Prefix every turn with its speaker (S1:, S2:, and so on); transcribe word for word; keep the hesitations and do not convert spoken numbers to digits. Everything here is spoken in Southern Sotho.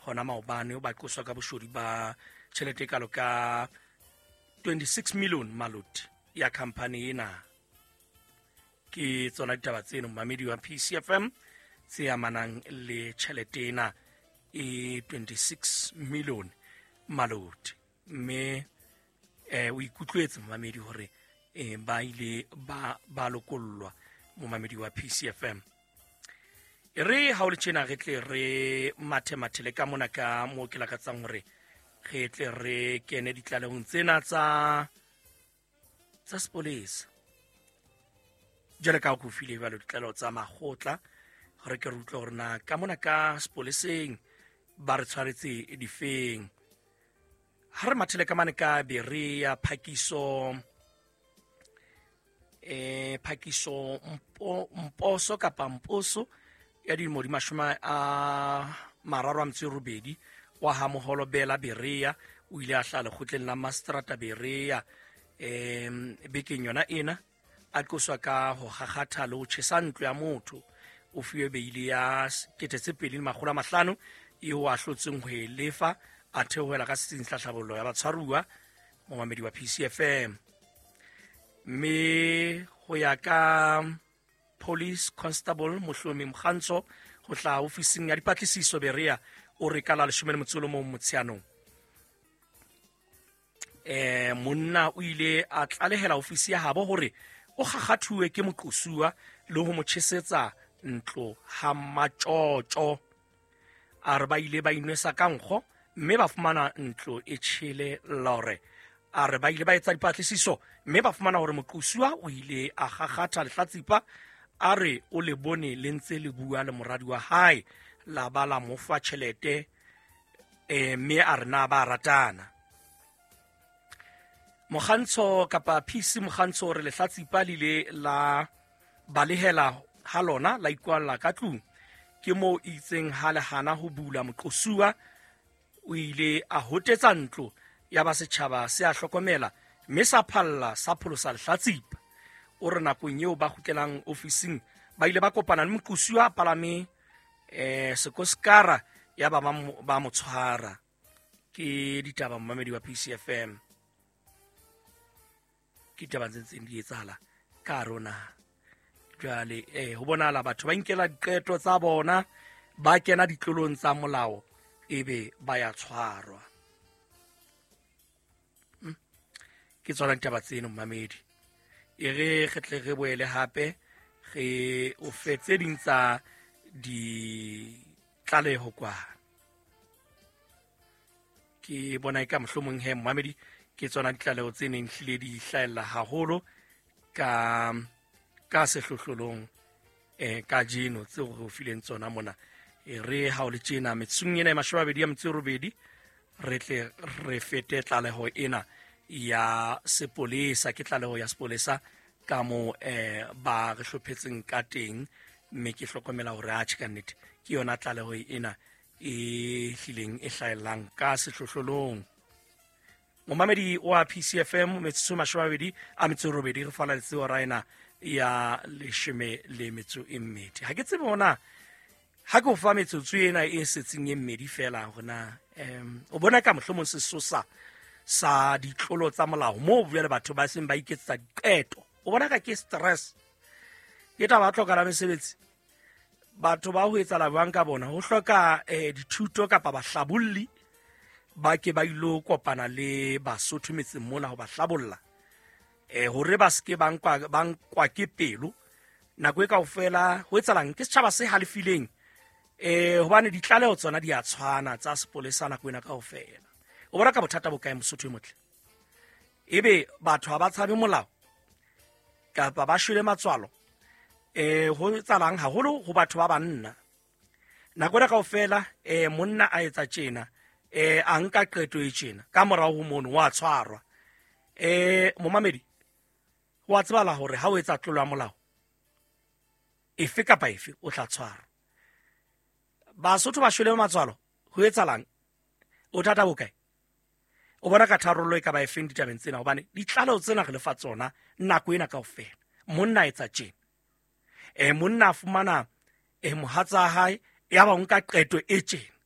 S1: Hona maobane ba qoswa ka boshodu ba tjhelete e kalo ka twenty-six million maloti ya company ena. Ke tsona ditaba tseno momamedi wa P C F M tse amanang le tjhelete ena e twenty-six million maloti. Mme eh o ikutlwetse momamedi hore eh ba ile ba ba lokollwa momamedi wa P C F M. E re ha o le tjena re tle re mathemathele ka mona ka mo ke lakatsang hore re tle re kene ditlalehong tsena tsa tsa sepolesa. Jwale ka ho file jwalo ditlaleho tsa makgotla hore ke re utlwe hore na ka mona ka sepoleseng ba re tshwaretse difeng. Ha re mathele ka mane ka Berea Phakiso eh Phakiso Mpo, Mposo kapa Mposo ya dilemo di mashome a mararo a metso e robedi wa ha Moholo Bela Berea o ile a hlaha lekgotleng la Mastrata Berea em bekeng yona ena a qoswa ka ho kgakgatha le ho tjhesa ntlo ya motho. O fuwe beile ya kete tse pedi le makgolo a mahlano eo a hlotseng ho e lefa a theohela ka setsing sa tlhabollo ya batshwaruwa momamedi wa P C F M. Mme ho ya ka Police Constable Mohlomi Mokgantsho ho hlaha ofising ya dipatlisiso Berea o re ka la leshome le motso o le mong Motsheanong eh monna o ile a tlalehela ofisi ya habo hore o kgakgathuwe ke moqosuwa le ho mo tjhesetsa ntlo ha matjotjo. A re ba ile ba inwesa ka nkgo mme ba fumana ntlo e tjhele lore. A re ba ile ba etsa dipatlisiso mme ba fumana hore moqosuwa o ile a kgakgatha lehlatsipa. A re o le bone le ntse le bua le moradi wa hae la ba la mo fa tjhelete eh mme a re na ba ratana. Mokgantsho kapa P C Mokgantsho re lehlatsipa le ile la balehela ha lona la ikwalla ka tlung. Ke moo itseng ha le hana ho bula moqosuwa o ile a hotetsa ntlo ya ba setjhaba se a hlokomela mme sa phalla sa pholosa lehlatsipa. O re nakong eo ba kgutlelang ofising ba ile ba kopana le moqosuwa a palame eh sekoskara ya ba ba mo tshwara. Ke ditaba momamedi wa P C F M. Ke ditaba tse ntseng di etsahala ka rona. Jwale eh ho bonahala batho ba inkela diqeto tsa bona ba kena ditlolong tsa molao ebe ba ya tshwarwa. Hmm. Ke tsona ditaba tseno momamedi. E re re tle re boele hape re o fe tse ding tsa ditlaleho kwa. Ke bona eka mohlomong he momamedi ke tsona ditlaleho tse neng hlile di hlahella haholo ka ka sehlohlolong eh kajeno tseo re o fileng tsona mona. E re ha o le tjena metsotsong ena e mashome a mabedi a metso e robedi re tle re fete tlaleho ena ya sepolesa. Ke tlaleho ya sepolesa ka mo eh ba re hlophetseng ka teng mme ke hlokomela hore atjhe ka nnete ke yona tlaleho ena e hlileng e hlahellang ka sehlohlolong. Momamedi wa P C F M metsotso e mashome a mabedi a metso e robedi re fana le hora ena ya leshome le metso e mmedi. Ha ke tsebe hona ha ke o fa metsotso ena e setseng e mmedi fela hore na em o bona ka mohlomong sesosa sa ditlolo tsa molao moo jwale batho ba seng ba iketsetsa diqeto. O bona ka ke stress ke taba ya tlhoka la mesebetsi. Batho ba ho etsahala jwang ka bona ho hloka eh dithuto kapa bahlabolli ba ke ba ilo kopana le Basotho metseng mona ho ba hlabolla eh hore ba seke ba nkwa ba nkwa ke pelo nako e kaofela. Ho etsahalang ke setjhaba se halefileng eh hobane ditlaleho tsona di a tshwana tsa sepolesa nako ena kaofela. O bona ka bothata bo kae Mosotho e motle? Ebe batho ha ba tshabe molao kapa ba shwele matswalo eh ho etsahalang haholo ho batho ba banna nako ena kaofela eh monna a etsa tjena eh a nka qeto e tjena ka morao ho mono wa tshwarwa. Eh momamedi wa tsebala hore ha o etsa tlolo ya molao efe kapa efe o tla tshwarwa. Basotho ba shwele matswalo ho etsahalang? O thata bo kae? O bona ka tharollo e ka ba efeng ditabeng tsena hobane ditlaleho tsena re lefa tsona nako ena kaofela. Monna etsa tjena eh monna a fumana eh mohatsa hae ya ba nka qeto e tjena.